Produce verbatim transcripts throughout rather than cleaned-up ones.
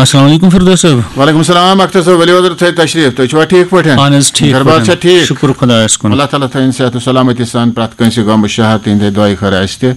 السلام علیکم فردوس صٲب۔ وعلیکم السلام اختر صٲب، ؤلِو حضرت، تھٲیِو تشریف، تُہۍ چھِوا ٹھیٖک پٲٹھۍ؟ اہن حظ، ٹھیٖک گرٕ بار پٲٹھۍ۔ چھا ٹھیٖک؟ شُکُر خۄدایَس کُن۔ اللہ تعالیٰ تھٲیِن صحت و سلامتی سان پرٛٮ۪تھ کٲنٛسہِ غم و شہر تِہِنٛدِ دعایہِ خٲر اَسہِ تہِ۔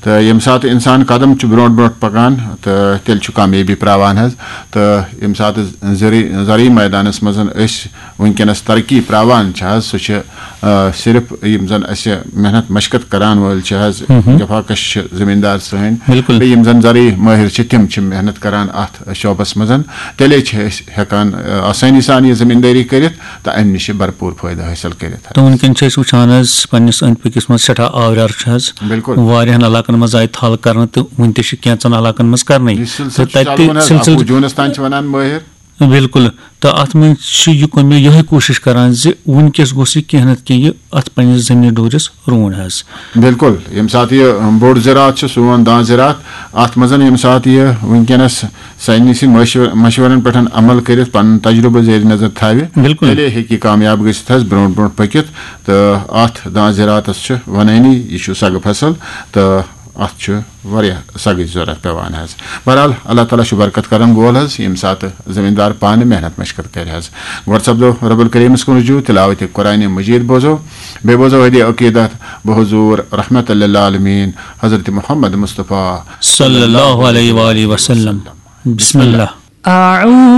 تہٕ ییٚمہِ ساتہٕ اِنسان قدم چھُ برونٛٹھ برونٛٹھ پَکان، تہٕ تیٚلہِ چھُ کامیٲبی پرٛاوان حظ۔ تہٕ ییٚمہِ ساتہٕ زرعی زرعی مٲدانَس منٛز أسۍ وٕنکیٚنَس ترقی پرٛاوان چھِ حظ، سُہ چھِ آ، صرف یِم زَن اَسہِ محنت مشقت کَران وٲلۍ چھِ حظ، جفاکش چھِ زٔمیٖندار سٲنۍ۔ بِلکُل۔ بیٚیہِ یِم زَن زرعی مٲہِر چھِ، تِم چھِ محنت کَران اَتھ شعبَس منٛز۔ تیٚلے چھِ أسۍ ہٮ۪کان، آ، آسٲنی سان یہِ زٔمیٖندٲری کٔرِتھ تہٕ اَمہِ نِش چھِ بَرپوٗر فٲیدٕ حٲصِل کٔرِتھ حظ۔ تہٕ وٕنکیٚن چھِ أسۍ وٕچھان حظ، پننِس أنٛدۍ پٔکِس منٛز سٮ۪ٹھاہ آوریر چھُ حظ۔ بِلکُل۔ واریاہَن علاقَن منٛز آیہِ تھل کرنہٕ تہٕ وٕنہِ تہِ چھِ کینٛژَن علاقَن منٛز کرنٕے۔ یہِ سلسلہٕ تہٕ چھُ چلوُن حظ، سلسلہٕ اَکوُہ جوٗنَس تام چھِ وَنان مٲہِر۔ بِلکُل۔ تہٕ اَتھ منٛز چھُ یہِ کوٚر مےٚ یِہوٚے کوٗشِش کران زِ وٕنکیٚس گوٚژھ یہِ کینٛہہ نَتہٕ کینٛہہ یہِ اَتھ پننِس زٔمیٖن ڈوٗرِس روٗن حظ۔ بِلکُل، ییٚمہِ ساتہٕ یہِ بوٚڑ زِراعت چھُ، سون دان زِراعت، اَتھ منٛز ییٚمہِ ساتہٕ یہِ وٕنکیٚنَس سارنٕے سٕنٛدۍ مشور-، مشورن پٮ۪ٹھ عمل کٔرِتھ، پنُن تجربہٕ زیر نظر تھاوِ، بِلکُل۔ تیٚلے ہیٚکہِ یہِ کامیاب گٔژھِتھ حظ، برونٛٹھ برونٛٹھ پٔکِتھ۔ تہٕ اَتھ دان زِراعتَس چھُ وَنٲنی، یہِ چھُ سَگہٕ فصل، تہٕ اَتھ چھُ واریاہ سَگٕچ ضروٗرت پٮ۪وان حظ۔ بہرحال، اللہ تعالیٰ چھُ برکت کرن وول حظ، ییٚمہِ ساتہٕ زٔمیٖندار پانہٕ محنت مشقت کرِ حظ۔ گۄڈٕ سپدو رب الکریٖمَس کُن رجوع، تلاوت قرآن مجید بوزو، بیٚیہِ بوزو ہدی عقیدت بحضور رحمت للعالمین حضرت محمد مصطفیٰ صلی اللہ علیہ وآلہ وسلم۔ بسم اللہ۔ أعوذ